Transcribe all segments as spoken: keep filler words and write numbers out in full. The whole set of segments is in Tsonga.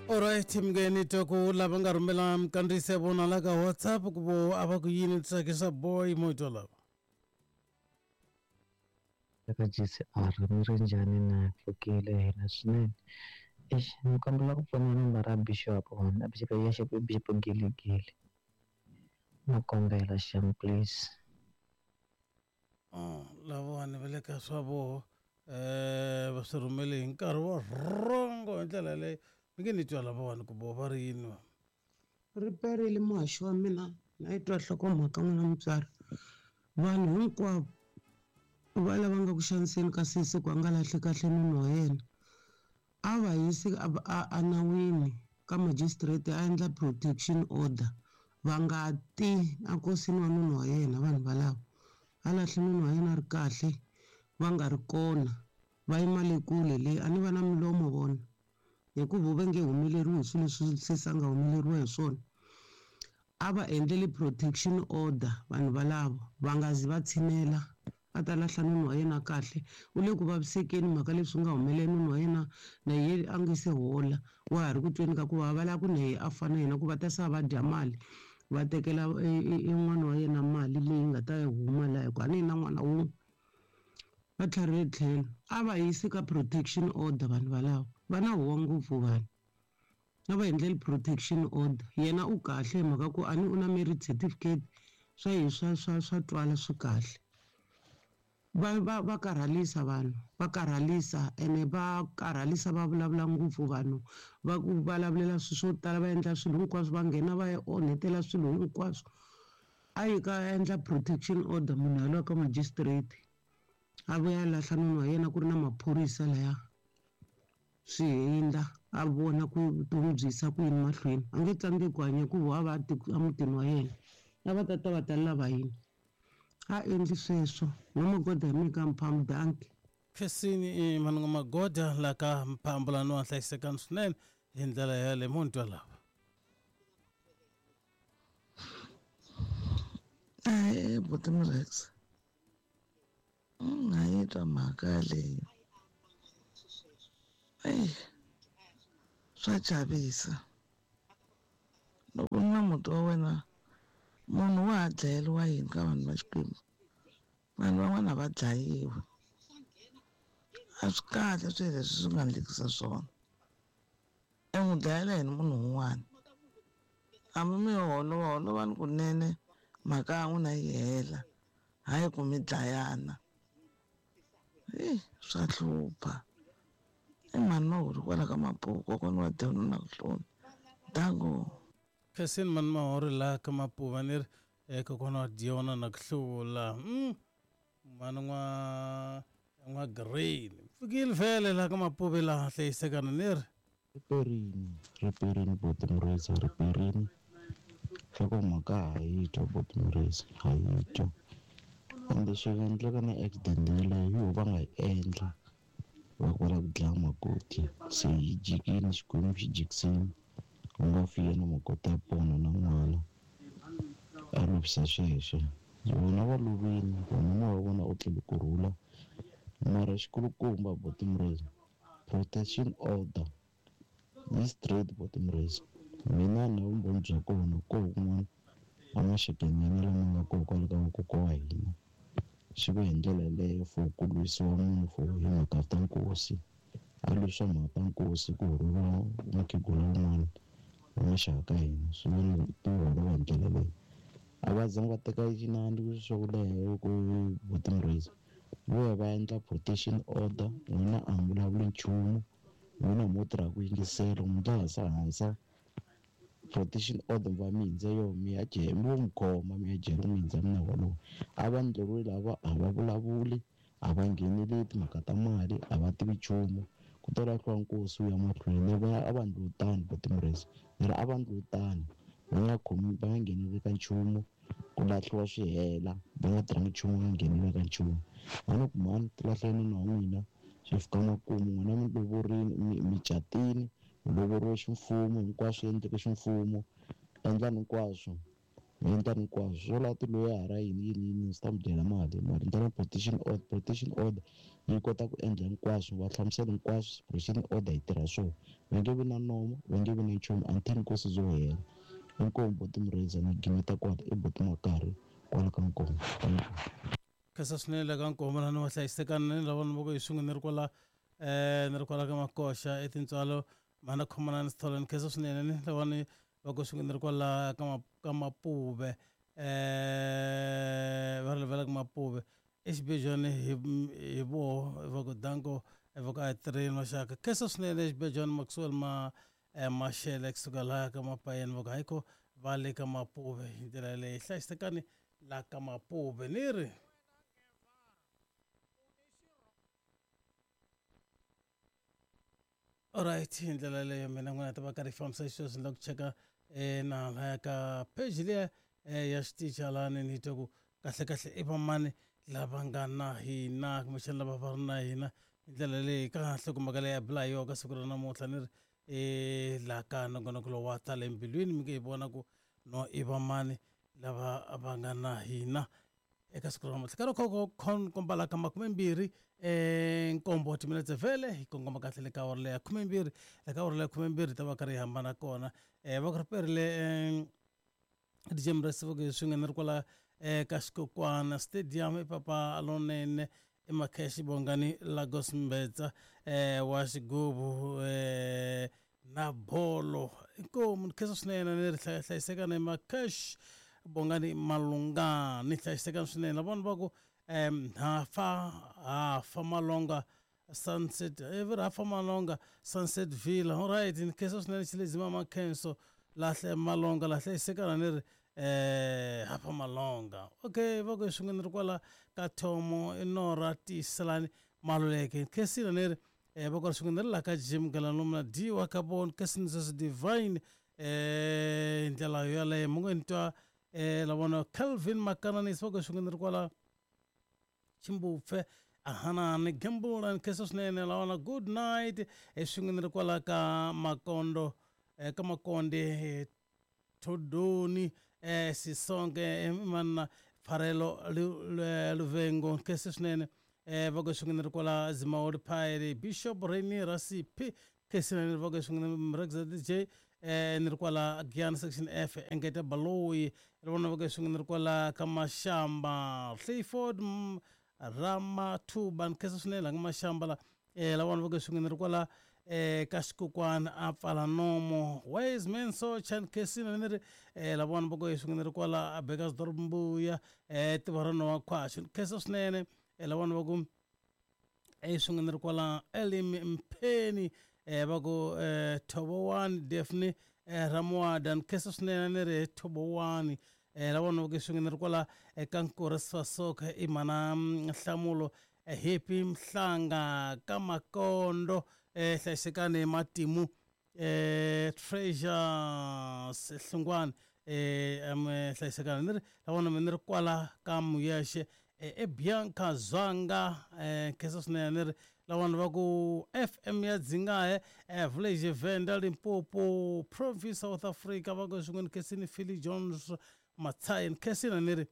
Alright mngeni twa ku lava nga rhumela minkandziyiso ya vona la ka WhatsApp ku vo a va ku yini tsakisa boy mo twa lava. Eka G C R mi ri njhani na pfukile hina swinene. Eish ni kombela ku pfuna nambara ya Bishop na Bishop ya Bishop Bishop Giligili. Na kombela xem please. Oh, lavawani va le ka swa voho eh va swi rhumele hi nkarhi wa rhongo hi ndlela leyi mi nge ni twa lavawani ku vo va ri yini va. Ri perile muhaxi wa mina na yi twa nhlokomhaka n'wina mutswari. Vanhu hinkwavo va lava nga ku xaniseni ka sesi ku a nga lahli kahle nuna wa yena a va yisi a nawini ka magistrate a endla protection order va nga ti enkosini wa nuna wa yena vanhu valavo a lahli nuna wa yena a ri kahle va nga ri kona va yima le kule le a ni va na milomo vona hikuva va nge humeleriwi hi swilo leswi sesi a nga humeleriwa hi swona a va endleli protection order vanhu valavo va nga zi va tshinela a ta lahla nuna wa yena kahle u le ku vavisekeni mhaka leswi nga humelela nuna wa yena na ye a nge se hola wa ha ri ku tweni ka ku va va lava ku na ye a fana yena ku va ta sa va dya mali va tekela e n'wana wa yena mali leyi nga ta huma laha hikuva a ni na n'wana wun'we va tlharile tlhelo a va yisi ka protection order vanhu valavo va na huwa ngopfu vanhu a va endleli protection order yena u kahle hi mhaka ku a ni u na marriage certificate swa hi swa swa swa twala swi kahle va va va karhalisa vanhu va karhalisa ene va karhalisa va vulavula ngopfu vanhu va ku vulavulela swilo swo tala va endla swilo hinkwaswo va nghena va ya onhetela swilo hinkwaswo a yi ka endla protection order munhu yaloye ka magistrate a vuya lahla nuna wa yena ku ri na maphorisa laya swi hindza a vona ku vutomi byi yisa ku yini mahlweni a nge tsandzeki ku hanya hikuva a va a mutini wa yena a va tata va ta lava yini a endli sweswo n'wamagoda hi mina ka Mphambu danki. Khensini mhani N'wamagoda la ka Mphambu lani wa hlayisekani swinene hi ndlela yaleyo mo ni twa lava. Ahee buti Mrex nga yi twa mhaka leyi eyi swa chavisa loko na muti wa wena munhu wa ha dlayeriwa yini ka vanhu va Xikwembu vanhu van'wana va dlayiwa a swi kahle swilo leswi swi nga endlekisa swona e n'wi dlayela yini munhu un'wana hambi mi holova holovani kunene mhaka ya n'wina yi hela hayi ku mi dlayana eyi swa hlupha i mhani Mahuri kwala ka Mapuva kokwana wa Dyona na ku hlula dango. Khensini mhani Mahuri la ka Mapuva ni ri kokwana wa Dyona na ku hlula mhani n'wa n'wa Green pfukile vhele la ka Mapuva laha hlayisekana ni ri riperini riperini buti Murisa riperini nhlokomhaka ha yi twa buti Murisa ha yi twa ende swi nga endleka na accident yeleyo yo va nga yi endla va ku va lava ku dlaya makoti se yi jikile Xikwembu xi jikisini ku nga fi yena makoti a pona na n'wana a lovisa sweswo vona va lovile vona moya wa vona u tlele kurhula mara xikulukumba buti Murisa protection order yi straight buti Murisa mina na vumbhoni bya kona ko kun'wana a maxakeni ya lama nga kona kwale ka vakokwa wa hina swi va hi ndlela yeleyo for ku lwisiwa munhu for hi mhaka ta nkosi a lwisiwa mhaka ta nkosi ku horova mukhegula wun'wana wa maxaka ka hina swi va ti holova hi ndlela leyi a va zanga va teka xinandi swa ku leha ku buti Murisa vo ya va endla protection order n'wina a mi vulavuli nchumu n'wina mo tirha ku yingisela mi ta hansa hansa protection order va mi hindza yo mi ya jele mi vo mi khoma mi ya jele mi hindza mina wolowo a va ndleriwe lava a va vulavuli a va ngheneleli timhaka ta mali a va tivi nchumu ku ta lahliwa nkosi wu ya mahlweni va a va ndliwe tani buti Murisa ni ri a va ndliwe tani va nga khomi va nga ngheneleli ka nchumu ku lahliwa swi hela va nga tirhangi nchumu va nga ngheneleli ka nchumu va ni ku mhani ti lahleni nuna wa n'wina swi fika makumu n'wina mi lovorini mi mi catini mi lovoriwe ximfumo hinkwaswo endleke ximfumo endlani hinkwaswo Mi endla hinkwaswo swo laha tiloyara yini yini yini swi ta mi dyela mali mara ndlela protection order protection order yi kota ku endla hinkwaswo va hlamusela hinkwaswo protection order yi tirha swona va nge vi na nomo va nge vi na nchumu until nkosi byo hela inkomu boti Mureza ni gimeta kwala i boti Makarhi kwala ka Nkomo. Khensa swinene ka Nkomo lani wa hlayisekana ni lava ni va ku hi swin'we ni ri kwala um ni ri kwala ka Makoxa etintswalo mhana khomanani Sithole ni khensa swinene ni lavani va ku swin'we ni ri kwala ka ka Mapuve um va ri levela ka Mapuve exibejwani hi hi voho va ku danko va ku a hi tirheni maxaka khensa swinene exibejwani Maxwell ma Mashele kusuka laha ka Mapayeni va ku hayikho va le ka Mapuve hi ndlela yaleyo hlayisekani la ka Mapuve ni ri alright hi ndlela yaleyo mina n'wina ta va karhi fambisa xisweswi ni la ku cheka na laya ka page liya ya xitichi halani ni twa ku kahle kahle i vamani lava nga na hina kumbexana lava va ri na hina hi ndlela leyi ka nhlokomhaka leyi ya bula hi yona ka siku ra namuntlha ni ri e laha ka nongonoko lowu wa tala embilwini mi nge hi vona ku no i vamani lava va nga na hina eka siku ra namuntlha ka loko komba la ka makumembirhi um nkombo timinetse vhele hi kongoma kahle le ka awara leya khumembirhi le ka awara leya khumembirhi ta va karhi hi hambana kona um va ku ri perile um D J Muresi va ku hi swin'we ni ri kwala um ka Xikokwana Stadium i papa lonene i Makheshi Bongani Lagos Mbetsa um wa xigubu um na bolo inkomu ni khensa swinene ni ri hlayisekana i Makheshi Bongani Malungani hlayisekani swinene lavona va ku um hafa hafa Malonga Sunset every hafa Malonga Sunset Villa alright ni khensa swinene xilezima Makhenso lahle Malonga la hlayisekana ni ri eh hafa Malonga okay va ku swin'we ni ri kwala ka Thomo i Nora Tiselani Maluleke khensile ni ri eh va ku swin'we ni ri la ka Jim Galanoma Diwa ka bon khensile sweswi Divine eh ndlela yaleyo mu nge ni twa eh la vona Calvin Makananisi va ku swin'we ni ri kwala Chimbupfe ahanani gembula ni khensa swinene la vona good night e swin'we ni ri kwala ka Makondo eh ka Makonde Todoni eh Sisonke manna Pfarelo Luvengo khensa swinene eh va ku swin'we ni ri kwala Zimaoli Phairi Bishop Reni Rasipi khensa ni va ku swin'we Mrexa D J eh ni ri kwala Giyani section F Engeta Baloyi ri vona va ku swin'we ni ri kwala ka Mashamba Clifford Ramathuba ni khensa swinene la ka Mashamba la eh la vona va ku swin'we ni ri kwala eh ka Xikokwana a pfala nomo wise man so chan khensile ni ri eh la vona va ku swin'we ni ri kwala a Bekkersdorp Mbuya eh Tivarano wa Khwashu khensa swinene eh la vona va ku eh swin'we ni ri kwala Elim Mpheni eh va ku eh Thobowani Daphne eh Ramwada ni khensa swinene ni ri Thobowani eh la vona va ku swin'we ni ri kwala eka Nkore Sfasoka i mana Nhlamulo Happy Mhlanga ka Makondo eh hlayisekani matimu eh Treasures Hlungwane eh am hlayisekani ni ri la vona ni ri kwala ka Muyexe e Bianca Zwanga eh khensa swinene ni ri la vona va ku F M ya Dzingahe eh Village Venda Limpopo Province South Africa va ku swin'we ni khensini Philly Jones Matsayi ni khensini ni ri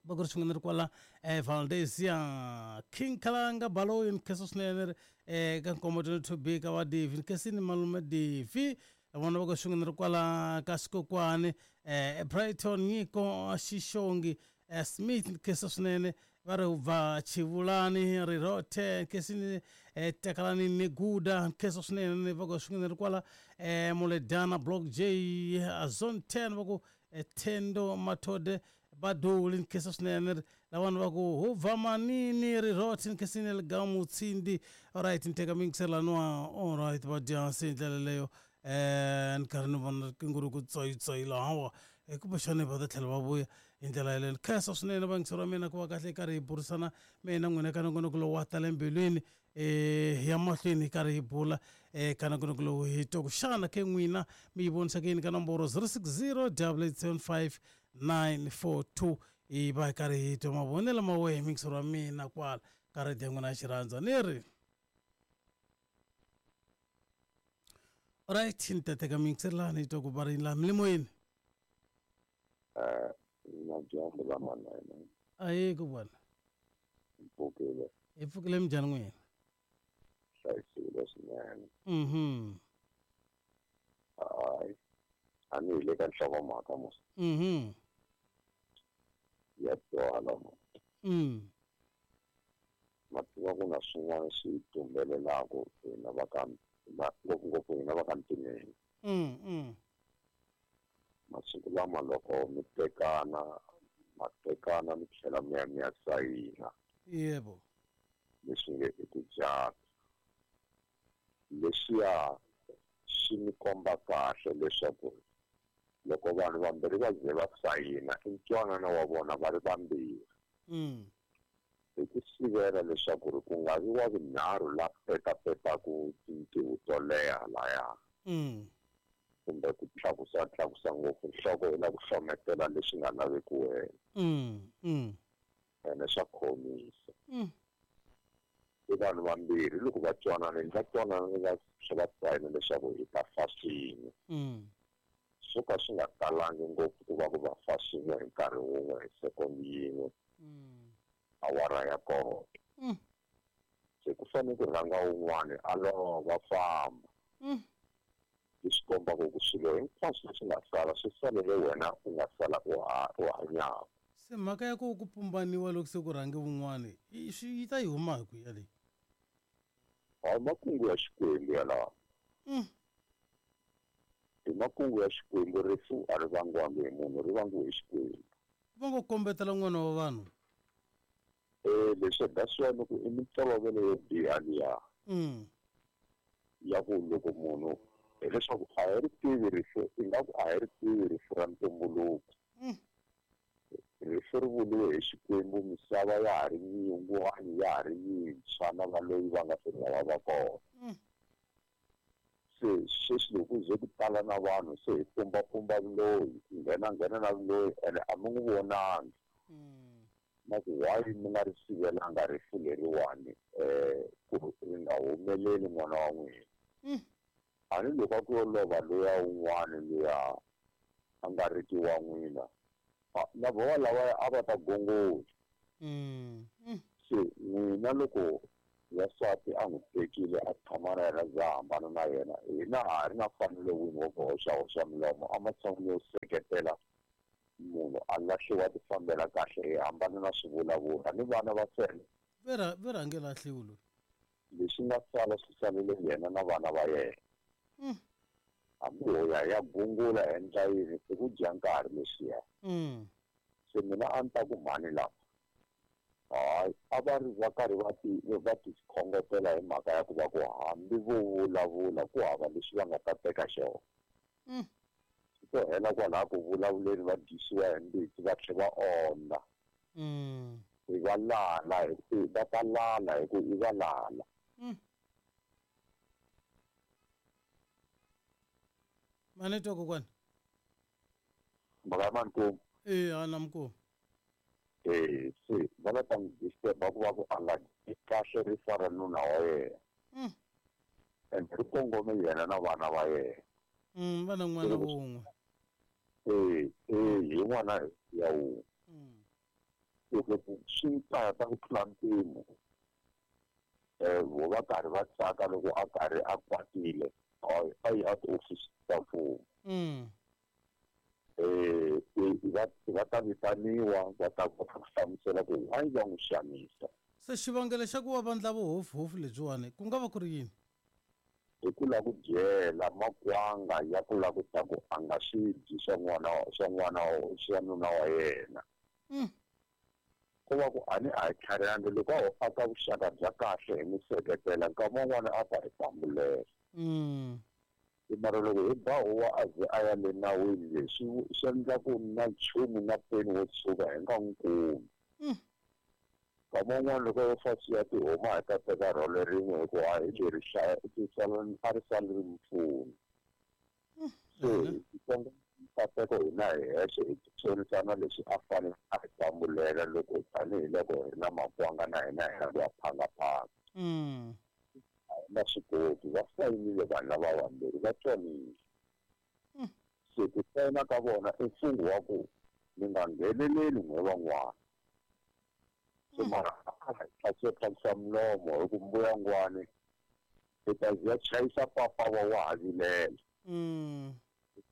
va ku ri swin'we ni ri kwala eh Valdesia King Kalanga Baloyi ni khensa swinene ni ri eh ka Nkomo twenty-two B ka va Devi ni khensini malume Devi la vona va ku swin'we ni ri kwala ka Xikokwani eh Brighton Nyiko Xixongi eh Smith ni khensa swinene va ri ubva Chivulani Rirothe khensini eh Takalani Neguda ni khensa swinene va ku swin'we ni ri kwala eh Muledana Block J Zone ten va ku Thendo Mathode Baduli ni khensa swinene la vanhu va ku hubva manini Rirothe ni khensini Ligamu Tsindi alright ni teka mingiselaniwa alright va dyansi hi ndlela leyo eh ni karhi ni vona riqingho ri ku tsoyitsoyi lahawa kumbexani va ta tlhela va vuya hi ndlela yaleyo ni khensa swinene vayingiseri wa mina ku va kahle hi karhi hi burisana mina n'wina ka nongonoko lowu wa tala embilwini eh hi ya mahlweni hi karhi hi bula eh ka nongonoko lowu hi twa ku xana ke n'wina mi yi vonisa ku yini ka nomboro zero six zero double eight seven five nine four two hi va hi karhi hi twa mavonelo ma wehe mingiseri wa mina kwala ka rediyo ya n'wina ya xirhandza ni ri right ni ta teka mingiselani hi twa ku va ri laha milimoyeni. Eh, madyambu lamanene. Ayi kokwana. Mpfukile. Hi pfukile minjhani n'wina? Hlayisekile swinene. Mhm. Hayi. A ni hi le ka nhlokomhaka mos. Mhm. Ya twala mo. Mm. Ma tiva ku na swin'wana swi tumbelelaka hina va ka ngopfungopfu hina va ka ntimeni. Mm mm. Masiku lama loko mi tekana ma tekana mi tlhela mi ya mi ya sayina. Yebo. Leswi nge i ku jata. Leswiya swi mi komba kahle leswaku loko vanhu vambirhi va ze va sayina i ntwanano wa vona va ri vambirhi. Mm. Hi ku sivela leswaku ri ku nga vi wa vunharhu la petapetaku tintiho to leha laya. Mm. Kumbe ku tlakusa tlakusa ngopfu nhloko hi la ku hlometela leswi nga laveki wena. Mm. Mm. Ene swa khomisa. Mm. I vanhu vambirhi loko va twanana va twanana va tlhela va sayina leswaku hi ta fa swin'we. Mm. Swo ka swi nga talangi ngopfu ku va ku va fa swin'we hi nkarhi wun'we hi second yin'we. Mm. Awara ya kona. Mm. Se ku fanele ku rhanga wun'wani a lova famba. Mm. Leswi kombaka ku swilo hinkwaswo leswi nga sala swi salele wena u nga sala u ha u hanyaka. Se mhaka ya ku ku pumbaniwa loko se ku rhange wun'wani i swi yi ta yi huma hi kwihi yaleyo? Hayi makungu ya Xikwembu yalawa. Mm. I makungu ya Xikwembu rifu a ri vangiwangi hi munhu ri vangiwe hi Xikwembu. Va ngo kombetela n'wana wa vanhu. Eh leswi that's why loko i mintolovelo yo biha liya. Mm. Ya ku loko munhu hileswaku a hi ri tivi rifu ingaku a hi ri tivi rifu ra ntumbuluko. Mm. Rifu ri vuriwe hi Xikwembu misava ya ha ri yin'wana ya ha ri yintshwa na valoyi va nga se lava va kona. Mm. Se sweswi loko ku ze ku tala na vanhu se hi pumbapumba vuloyi nghena nghena na vuloyi ene a mi n'wi vonangi. Mm. Na ku why mi nga ri sivelanga rifu leriwani um ku ri nga humeleli n'wana wa n'wina. Mm. A ni loko a ku yo lova luya un'wana luya a nga riki wa n'wina na vona lavaya a va ta gongola. Mm. Mm. Se n'wina loko wasati a n'wi tekile a tshama na yena za hambana na yena hina ha ri na mfanelo wini wo ku hoxahoxa milomo ematshan'wini yo seketela munhu a lahliwa ti fambela kahle hi hambana na swivulavula ni vana va sele. Ve ra ve rhange lahliwi loyi. Leswi nga sala swi salele yena na vana va yena. Mm. Hambi ho ya ya gungula endla yini i ku dya nkarhi leswiya. Mm. Se mina a ni ta ku mhani lava hayi a va ri va karhi va ti va ti khongotela hi mhaka ya ku va ku hambi vo vulavula ku hava lexi va nga ta teka xona. Mm. Swi to hela kwalaha ku vulavuleni va dyisiwa hi mbitsi va tlhela va ondza. Mm. Hi va lala hi va ta lala hi ku i va lala. Mm. Mani twa kokwana? Mhaka ya mani Eh a na mukulu. Eh se va la ta n'wi disturb-a ku va ku a nga dyi kahle rifa ra nuna wa yena. Mm. Ende ri kongome yena na vana va yena. Mm, va na n'wana wun'we. Eh eh hi n'wana ya wun'we. Mm. Loko swi ta ta ku tlula mpimo eh vo va karhi va tsaka loko a karhi a kwatile a yi a tiofisi ta mfumo. Mm. Eh va va ta vitaniwa va ta kota ku hlamusela ku why va n'wi xanisa. Se xivangelo xa ku va va endla vuhofuhofu lebyiwani ku nga va ku ri yini? Hi ku lava ku dyela makwanga ya ku lava ku ta ku a nga swi dyi swa n'wana swa n'wana swa nuna wa yena. Mm. Ku va ku a ni a hi tlharihangi loko a ho aka vuxaka bya kahle hi n'wi seketela nkama wun'wana a ta hi pambulela. Mm. Mara loko hi ba huwa a ze a ya le nawini leswi swi endla ku na nchumu na peni wo tshuka hi nga n'wi kumi. Mm. Nkama wun'wana loko yo fa swi ya tihoma hi ta teka rhole rin'we hikuva a hi leri a ri sali ri mpfuni. Se hi nkateko hina hi hexe hi titshonisana leswi a fanele a hi pambulela loko tanihiloko hi ri na makwanga na hina hi la ku ya phangaphanga. Mm. Na swi koti va sayinile vanhu lava vambirhi va twanile. Mm. Se ku sayina ka vona i mfungho wa ku Mi nga ngheneleli n'we van'wana. Se mara a swi tlhakisa milomo hi ku mbuyangwani i ta ya chayisa papa wa wa ha vilela. Mm.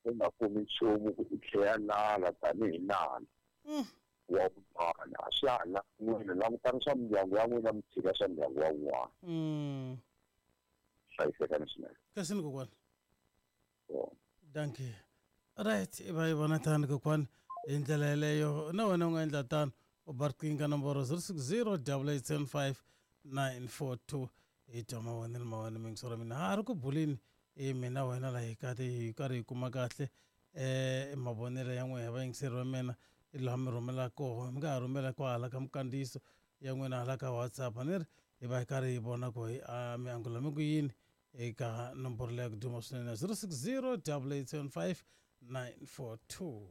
U nga kumi nchumu ku i tlhela nala tanihi nala. Mm. Wa vun'wana a swi ha la n'wina langutani swa mindyangu ya n'wina mi tshika swa ndyangu wa wun'wana. Mm. Hlayisekani swinene. Kasi kokwana. So, Dankie. Right, i va yi vona tani kokwana hi ndlela yeleyo na wena u nga endla tano u ba riqingho ka nomboro zero six zero double eight seven five nine four two hi twa mavonelo ma wena miyingisoro ya mina ha ri ku buleni i mina wena laha hi kati hi karhi hi kuma kahle um mavonelo ya n'wina vayingiseri va mina hi laha mi rhumela koho mi nga ha rhumela kwahala ka minkandziyiso ya n'wina hala ka WhatsApp a ni ri hi va hi karhi hi vona ku hi a mi angula mi ku yini eka nomboro leyi ya ku duma swinene zero six zero double eight seven five nine four two.